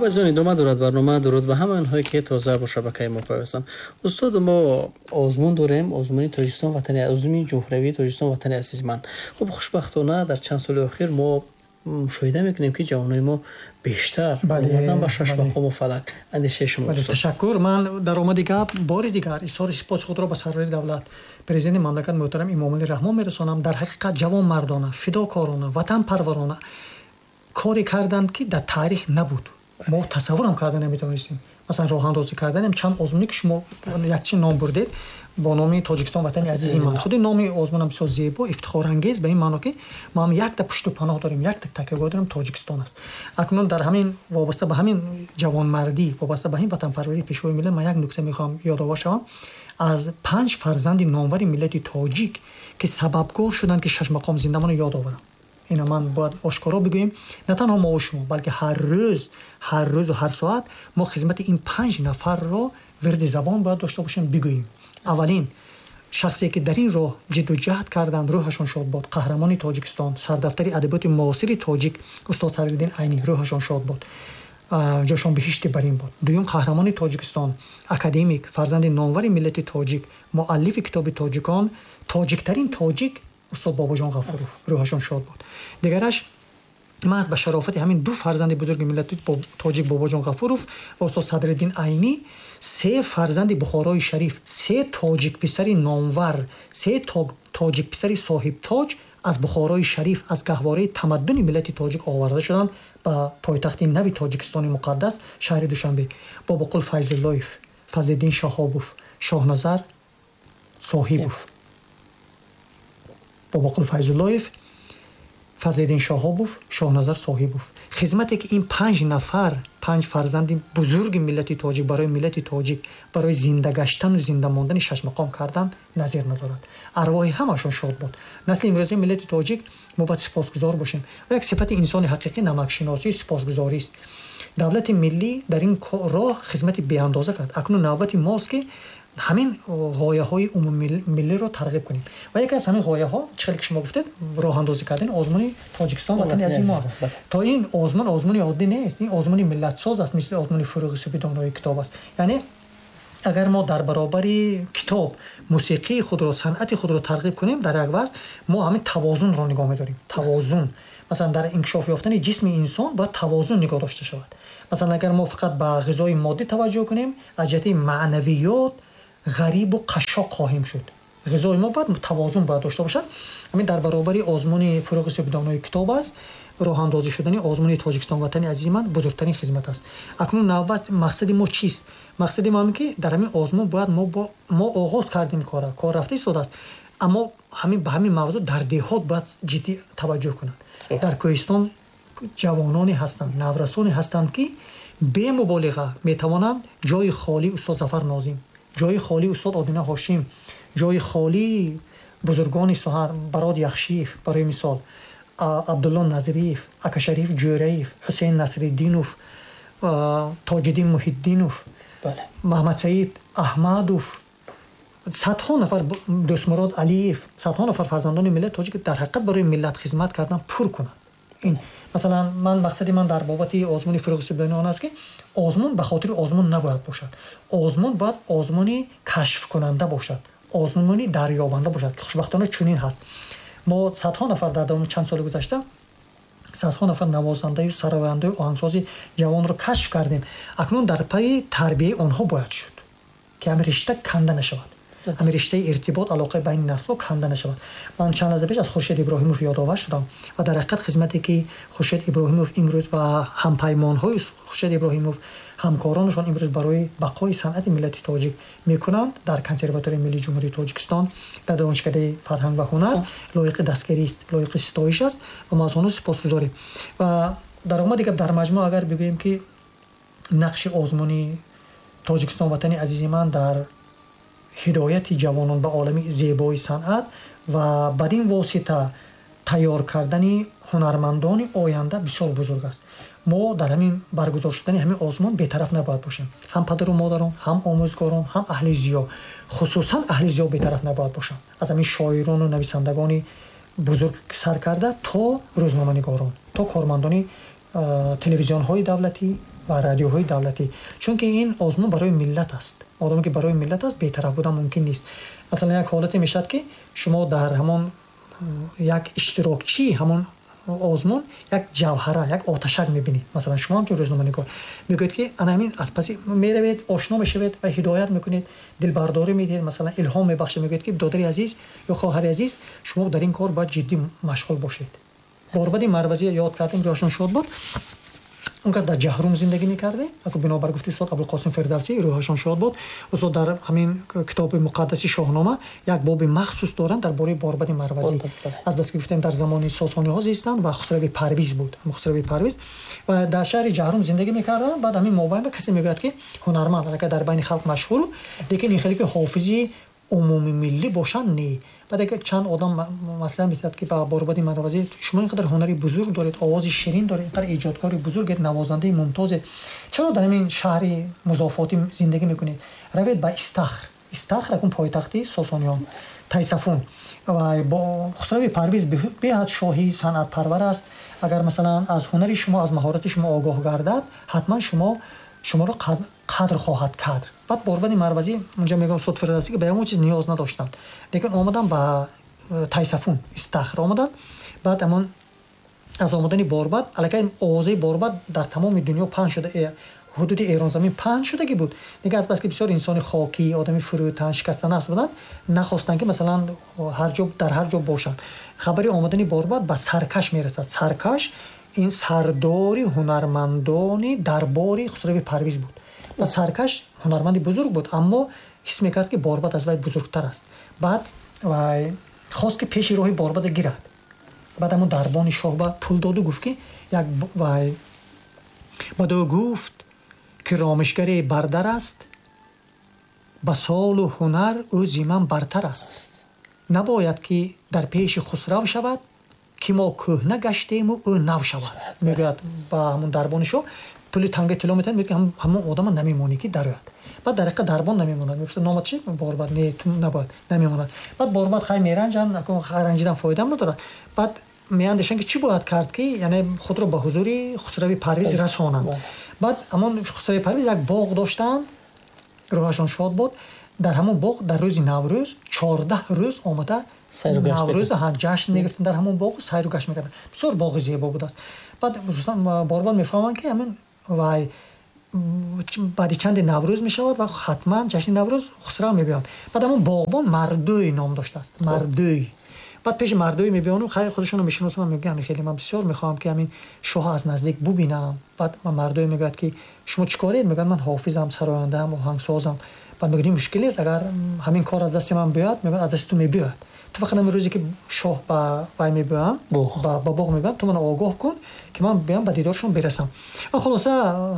Хуб, аз он идома дорад барнома. Дуруд ба ҳамаи онҳое, ки тоза бо шабакаи мо пайвастанд. Устод, мо озмун дорем, озмуни Тоҷикистон ватани, озмуни ҷумҳуриявии Тоҷикистон ватани азизи ман. Хуб, хушбахтона дар чанд соли охир мо мушоҳида мекунем, ки ҷавонони мо бештар омадан ба шашмақому фалак. Андешаи шумо? Ташаккур. Ман дар омади гап бори дигар изҳори сипоси худро ба сарвари давлат, президенти мамлакат муҳтарам Эмомалӣ Раҳмон мерасонам. Дар ҳақиқат ҷавонмардона, фидокорона, ватанпарварона коре карданд, ки дар таърих набуд, мо тасаввурам карда наметавонистем. Масалан, роҳандозӣ карданем чанд озмуне, ки шумо якчи ном бурдед, бо номи Тоҷикистон ватани азизи ман. Худи номи озмунам бисёр зебо, ифтихорангез, ба ин маъно, ки мо ҳам якта пушту паноҳ дорем, якта такягоҳ дорем, Тоҷикистон аст. Акнун дар ҳамин вобаста ба ҳамин ҷавонмардӣ, вобаста ба ҳамин ватанпарварии пешвои миллат, ман як нукта мехоҳам ёдовар шавам аз панҷ фарзанди номвари миллати тоҷик, ки сабабгор шуданд, ки шашмақом зиндамонро ёд оварам. Ина ман бояд ошкоро бигӯем, на танҳо мо шумо, балки ҳар рӯз, ҳар рӯзу ҳар соат мо хизмати ин панҷ нафарро вирди забон бояд дошта бошем, бигӯем. Аввалин шахсе, ки дар ин роҳ ҷидду ҷаҳд карданд, рӯҳашон шод бод, қаҳрамони Тоҷикистон, сардафтари адабиёти муосири тоҷик устод Садриддин Айнӣ, рӯҳашон шод бод, ҷошон биҳишти барин бод. Дуюм қаҳрамони Тоҷикистон, академик, фарзанди номвари миллати тоҷик, муаллифи китоби тоҷикон, тоҷиктарин тоҷик устод Бобоҷон Ғафуров, рӯҳашон шод бод. Дигараш, маҳз ба шарофати ҳамин ду фарзанди бузурги миллати тоҷик, Бобоҷон Ғафуров ва устод Садриддин Айнӣ, се фарзанди Бухорои Шариф, се тоҷикписари номвар, се тоҷикписари соҳибтоҷ аз Бухорои Шариф, аз гаҳвораи тамаддуни миллати тоҷик оварда шуданд ба пойтахти нави Тоҷикистони муқаддас, шаҳри Душанбе: Бобоқул Файзуллоев, Фазлиддин Шаҳобов, Шоҳназар Соҳибов. Бобоқул Файзуллоев, Фазлиддин Шоҳобов, Шоҳназар Соҳибов. Хизмате, ки ин панҷ нафар, панҷ фарзанди бузурги миллати тоҷик барои миллати тоҷик, барои зинда гаштану зинда мондани шашмақом кардан, назир надорад. Арвоҳи ҳамашон шод буд. Насли имрӯзаи миллати тоҷик мо бояд сипосгузор бошем ва як сифати инсони ҳақиқӣ намакшиносӣ, сипосгузорист. Давлати миллӣ дар ин роҳ хизмати беандоза кард. Акнун навбати мост, ки ҳамин ғояҳои умумимиллиро тарғиб кунем, ва яке аз ҳамин ғояҳо, чӣ хеле ки шумо гуфтед, роҳандозӣ кардани озмуни Тоҷикистон ватани азизи мо аст. То ин озмун озмуни оддӣ нест, ин озмуни миллатсоз аст, мисли озмуни Фурӯғи субҳи донои китоб аст. Яъне агар мо дар баробари китоб мусиқии худро, санъати худро тарғиб кунем, дар як вазн мо ҳамин тавозунро нигоҳ медорем. Тавозун, масалан, дар инкишоф ёфтани ҷисми инсон бояд тавозун нигоҳ дошта шавад. Масалан, агар мо фақат ба ғизои моддӣ таваҷҷӯҳ кунем, аз ҷиҳати маънавиёт ғарибу қашшоқ хоҳем шуд. Ғизои мо бояд тавозун бояд дошта бошад. Ҳамин дар баробари озмуни Фурӯғи субҳи донои китоб аст, роҳандозӣ шудани озмуни Тоҷикистон ватани азизи ман бузургтарин хизмат аст. Акнун навбат, мақсади мо чист? Мақсади мо ҳамин, ки дар ҳамин озмун бояд мо оғоз кардем, кора кор рафта истодааст, аммо ҳамин ба ҳамин мавзӯъ дар деҳот бояд ҷиддӣ таваҷҷӯҳ кунанд. Дар кӯҳистон ҷавононе ҳастанд, наврасоне ҳастанд, ки бемуболиға метавонанд ҷои холии устод Зафар Нозим, ҷои холии устод Одина Ҳошим, ҷои холии бузургони соҳа, Барод Яхшиев, барои мисол, Абдулло Назриев, Акашариф Ҷӯраев, Ҳусейн Насриддинов, Тоҷиддин Муҳиддинов, Маҳмадсаид Аҳмадов, садҳо нафар, Дӯстмурод Алиев, садҳо нафар фарзандони миллати тоҷик дар ҳақиқат барои миллат хизмат кардан пур кунанд. Ин масалан, ман мақсади ман дар бобати озмуни Фурӯғи субҳи он аст, ки озмун ба хотири озмун набояд бошад. Озмун бояд озмуни кашфкунанда бошад, озмуни дарёбанда бошад, ки хушбахтона чунин ҳаст. Мо садҳо нафар дар давоми чанд соли гузашта садҳо нафар навозандаю сарояндаю оҳангсози ҷавонро кашф кардем. Акнун дар пайи тарбияи онҳо бояд шуд, ки ҳамин ришта канда нашавад, ҳамин риштаи иртибот, алоқаи байни наслҳо канда нашавад. Ман чанд лаҳза пеш аз Хуршед Иброҳимов ёдовар шудам ва дар ҳақиқат хизмате, ки Хуршед Иброҳимов имрӯз ва ҳампаймонҳои Хуршед Иброҳимов, ҳамкоронашон имрӯз барои бақои санъати миллати тоҷик мекунанд дар Консерваторияи миллии Ҷумҳурии Тоҷикистон, дар Донишкадаи фарҳанг ва ҳунар, лоиқи дастгирист, лоиқи ситоиш аст ва мо аз онҳо сипосгузорем. Ва дар омади гап, дар маҷмӯъ агар бигӯем, ки нақши озмуни Тоҷикистон ватани азизи ман дар ҳидояти ҷавонон ба олами зебои санъат ва бадин восита тайёр кардани ҳунармандони оянда бисёр бузург аст. Мо дар ҳамин баргузор шудани ҳамин озмун бетараф набояд бошем: ҳам падару модарон, ҳам омӯзгорон, ҳам аҳли зиё. Хусусан аҳли зиё бетараф набояд бошанд, аз ҳамин шоирону нависандагони бузург сар карда то рӯзноманигорон, то кормандони телевизионҳои давлатӣ. ва радиоҳои давлатӣ, чунки ин озмун барои миллат аст. Одаме ки барои миллат аст, бетараф будан мумкин нест. Масалан, як ҳолате мешавад, ки шумо дар ҳамон як иштирокчии ҳамон озмун як ҷавҳара, як оташак мебинед. Масалан, шумо ҳамчун рӯзноманигор мегӯед, ки ана ҳамин аз паси меравед, ошно мешавед ва ҳидоят мекунед, дилбардорӣ медиҳед, масалан, илҳом мебахшед, мегӯед, ки додари азиз ё хоҳари азиз, шумо дар ин кор бояд ҷиддӣ машғул бошед. Борбади Марвазӣ ёд кардем, рӯҳашон шод буд. Он кас дар Ҷаҳрум зиндагӣ мекарде. Аку бинобар гуфти устод Абулқосим Фирдавсӣ, рӯҳашон шод буд, устод дар ҳамин китоби муқаддаси Шоҳнома як боби махсус доранд дар бораи Борбади Марвазӣ. Аз бас ки гуфтем, дар замони Сосониҳо зистанд ва Хусрави Парвиз буд, Хусрави Парвиз, ва дар шаҳри Ҷаҳрум зиндагӣ мекарданд. Баъд ҳамин мобайн касе мегӯяд, ки ҳунарманд аллакай дар байни халқ машҳур, лекин ин хеле ки ҳофизи умумимиллӣ бошанд, не. Баъд агар чанд одам маслиҳат медиҳад, ки ба Борбади Марвазӣ: шумо ин қадар ҳунари бузург доред, овози ширин доред, ин қадар эҷодкори бузургед, навозандаи мумтозед, чаро дар ҳамин шаҳри музофотӣ зиндагӣ мекунед? Равед ба Истахр. Истахр акун пойтахти Сосониён, Тайсафун. Ва Хусрави Парвиз беҳад шоҳи санъатпарвар аст. Агар, масалан, аз ҳунари шумо, аз маҳорати шумо огоҳ гардад, ҳатман шуморо қадр хоҳад кард. Баъд Борбади Марвазӣ, унҷа мегӯям устод Фирдавсӣ, ки ба ягон чиз ниёз надоштанд, лекин омадам ба Тайсафун, Истахр омадам. Баъд ҳамон аз омадани Борбад аллакай овозаи Борбад дар тамоми дунё паҳн шуда, ҳудуди Эронзамин паҳн шудагӣ буд. Дигар аз бас ки бисёр инсони хокӣ, одами фурӯтан, шикастанафс буданд, нахостанд, ки масалан ҳар ҷо, дар ҳар ҷо бошанд. Хабари омадани Борбад ба Саркаш мерасад. Саркаш ин сардори ҳунармандони дарбори Хусрави Парвиз буд. Баъд Саркаш ҳунарманди бузург буд, аммо ҳис мекард, ки Борбад аз вай бузургтар аст. Баъд вай хост, ки пеши роҳи Борбада гирад. Баъд ҳамон дарбони шоҳ ба пул доду гуфт, ки як вай баъд ӯ гуфт, ки ромишгаре бардар аст, ба солу ҳунар ӯ зи ман бартар аст, набояд ки дар пеши Хусрав шавад, ки мо кӯҳна гаштему ӯ нав шавад. Мегӯяд ба ҳамон дарбони шоҳ, пули тангаи тилло метиҳад, мегӯяд, ки ҳамон одама намемонӣ, ки дарояд. Баъд дар ҳақиқат дарбон намемонад. Мепурсад: номат чи? Борбад. Не, ту набояд, намемонад. Баъд Борбад хай меранҷанд, ранҷидан фоидаам надорад. Баъд меандешанд, ки чӣ бояд кард, ки яъне худро ба ҳузури Хусрави Парвиз расонанд. Баъд ҳамон Хусрави Парвиз як боғ доштанд, рӯҳашон шод буд. Дар ҳамон боғ дар рӯзи Наврӯз 14 рӯз омада Наврӯз ҷашн мегирифтанд, дар ҳамон боғ сайру гашт мекарданд. Бисёр боғи зебо будааст. Баъд Борбад мефаҳманд, ки ҳамин вай баъди чанде Наврӯз мешавад ва ҳатман ҷашни Наврӯз Хусрав мебиёнд. Баъд ҳамон боғбон Мардӯй ном доштааст, Мардӯй. Баъд пеши Мардӯй мебиёну хайр, худашонро мешиносам, мегӯям: хеле ман бисёр мехоҳам, ки ҳамин шоҳ аз наздик бубинам. Баъд Мардӯй мегӯяд, ки шумо чӣ коред? Мегӯяд: ман ҳофизам, сарояндаам, оҳангсозам. Баъд мегӯяд: ин мушкил нест, агар ҳамин кор аз дасти ман биёяд. Мегӯяд: аз дасти ту мебиёяд, ту фақат ҳамин рӯзе ки шоҳ ба вай мебиёям, ба боғ мебиёям, ту мана огоҳ кун, ки ман биёям, ба дидоршон бирасам. Ва хулоса,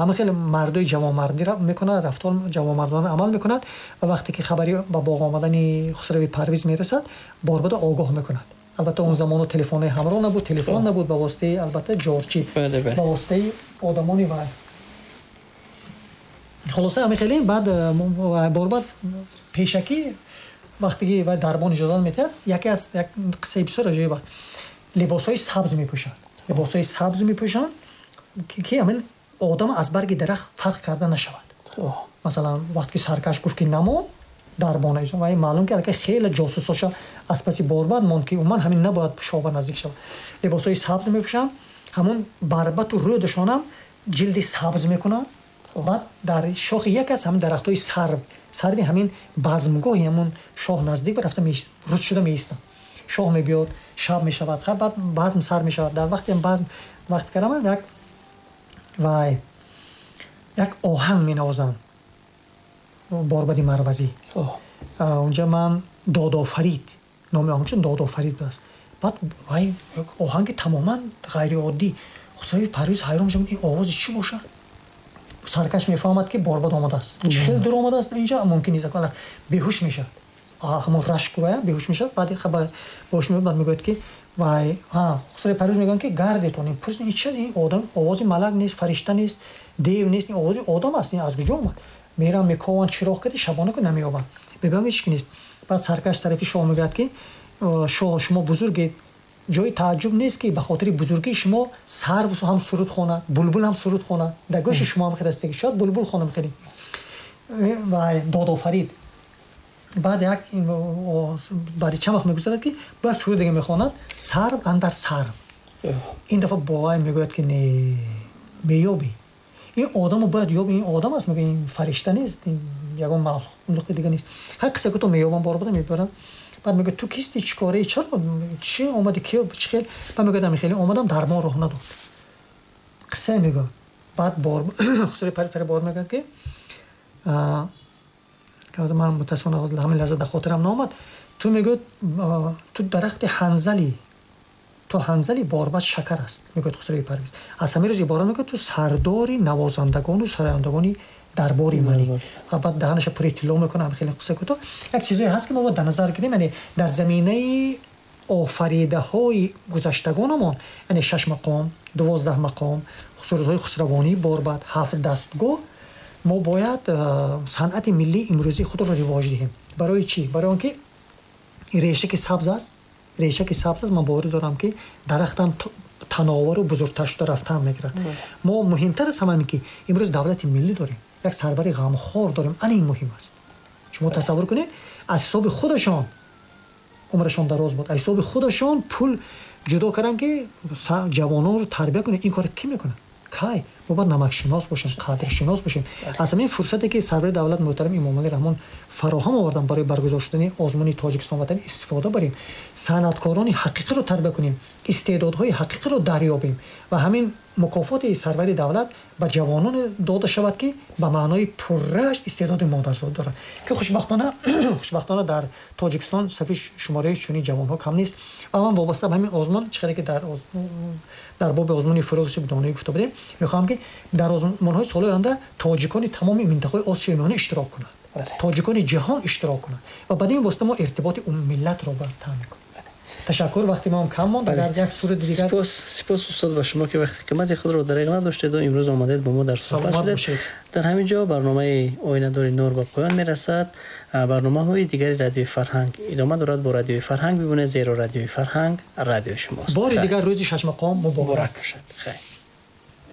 ҳама хеле мардои ҷавонмардӣ мекунад, рафтор ҷавонмардона амал мекунад. Ва вақте ки хабари ба боғ омадани Хусрави Парвиз мерасад, Борбада огоҳ мекунад. Албатта, он замоно телефонҳои ҳамроҳ набуд, телефон набуд, ба воситаи, албатта, ҷорчӣ, ба воситаи одамони вай. Хулоса, ҳамин хеле баъд Борбад пешакӣ, вақте ки вай дарбон иҷозат медиҳад, яке аз як қиссаи бисёр аҷоиб аст, либосҳои сабз мепӯшанд, либосҳои сабз мепӯшанд, ки ҳамин одам аз барги дарахт фарқ карда нашавад. Масалан, вақте ки Саркаш гуфт, ки намо дарбона, вай маълум, ки аллакай хеле ҷосусоша аз паси Борбад монд, ки умуман ҳамин набояд шоҳ ба наздик шавад. Либосҳои сабз мепӯшанд, ҳамон барбату рӯдашонам ҷилди сабз мекунанд. Баъд дар шохи як аз ҳамин дарахтҳои сарв, сарви ҳамин базмгоҳи ҳамон шоҳ наздик ба рафта рӯз шуда меистанд. Шоҳ мебиёд, шаб мешавад, баъд базм сар мешавад. Дар вақте базм вақт кардаман, як вай як оҳанг менавозанд Борбади Марвазӣ. Унҷа ман Додофарид, номи оҳангча Додофарид будааст. Баъд вай оҳанги тамоман ғайриоддӣ. Хусрави Парвиз ҳайрон мешавад: ин овози чӣ бошад? Саркаш мефаҳмад, ки Борбад омадааст. Чӣ хел дур омадааст, инҷа мумкин нест. Беҳуш мешавад, ҳамон рашку вая беҳуш мешавад. Баъд беҳуш мебаъд мегӯяд, ки вай Хусрави Парвиз мегӯянд, ки гардетон ин пурс, ин чӣ, ин одам, овози малак нест, фаришта нест, дев нест, ин овози одам аст, ин аз куҷо омад? Мерам, мекованд, чироғ карди шабона ку намеёбанд, мебинам, ҳеч ки нест. Баъд саркаш тарафи шоҳ мегӯяд, ки шоҳ, шумо бузургед. Ҷои таажжуб нест, ки ба хотири бузургии шумо сарв ҳам суруд хонад, булбул ҳам суруд хонад. Дар гӯши шумо ҳам хеле шояд булбул хонам хеле ва додофарид. Баъд як баъди чанд вақт мегузарад, ки бояд суруд дига мехонад, сарв андар сарв. Ин дафъа бовай мегӯяд, ки не, меёбӣ ин одамо, бояд ёби, ин одам аст, мегӯяд, ин фаришта нест, ягон махлуқи дига нест. Ҳар қисса ки то меёбам, бор буда мебарам. Баъд мегӯяд: ту кисти, чӣ кораи, чаро, чӣ омади, ки чӣ хел? Баъд мегӯяд: ами хеле омадам, дармон роҳ надод. Қисса мегӯяд. Баъд бор Хусрави Парвиз тари бор мегӯяд, ки ман мутаассифона ҳамин лаҳза дар хотирам наомад. Ту, мегӯяд, ту дарахти ҳанзали, ту ҳанзали борбад шакар аст, мегӯяд Хусрави Парвиз. Аз ҳамин рӯз ибора, мегӯяд, ту сардори навозандагону сарояндагони дарбори мани. Ва баъд даҳанаша пури тилло мекунад. Хеле қисса кӯтоҳ. Як чизое ҳаст, ки мо бояд дар назар гирем, яъне дар заминаи офаридаҳои гузаштагонамон, яъне шаш мақом, 12 мақом, сурудҳои хусравонии борбад, ҳафт дастгоҳ, мо бояд санъати миллии имрӯзии худро ривоҷ диҳем. Барои чӣ? Барои он ки реша ки сабз аст, реша ки сабз аст, ман боварӣ дорам, ки дарахтам тановару бузургтар шуда рафтан мегирад. Мо муҳимтар аз ҳама, ки имрӯз давлати миллӣ дорем, як сарвари ғамхор дорем. Ана ин муҳим аст. Шумо тасаввур кунед, аз ҳисоби худашон, умрашон дароз буд, аз ҳисоби худашон пул ҷудо кардам, ки ҷавононро тарбия кунед. Ин кора кӣ мекунад, кай? Мо бояд намакшинос бошем, қадршинос бошем. Аз ҳамин фурсате, ки сарвари давлат муҳтарам Эмомалӣ Раҳмон фароҳам овардан барои баргузор шудани озмуни Тоҷикистон ватан, истифода барем, санъаткорони ҳақиқиро тарбия кунем, истеъдодҳои ҳақиқиро дарёбем ва ҳамин мукофоти сарвари давлат ба ҷавонон дода шавад, ки ба маънои пуррааш истеъдоди модарзод дорад, ки хушбахтона дар Тоҷикистон сафи шумораи чунин ҷавонҳо кам нест. Ва ман вобаста ба ҳамин озмун, чӣ қадар ки дар боби озмуни Фурӯғи субҳдоноӣ гуфта будем, мехоҳам, ки дар озмунҳои соли оянда тоҷикони тамоми минтақаҳои Осиёи Миёна иштирок кунанд, тоҷикони ҷаҳон иштирок кунанд ва бад ин восита мо иртиботи миллатро бояд таъмин кунем. Ташаккур, вақти мо ҳам кам монд. Агар як суруди дигар. Сипос, сипос, устод, ба шумо, ки вақти қимати худро дареғ надоштеду имрӯз омадед, бо мо дар суҳбат шудед. Дар ҳамин ҷо барномаи Оинадори нур ба поён мерасад. Барномаҳои дигари Радиои Фарҳанг идома дорад. Бо Радиои Фарҳанг бимонед, зеро Радиои Фарҳанг радиои шумост. Бори дигар рӯзи шашмақом муборак бошад. Хайр.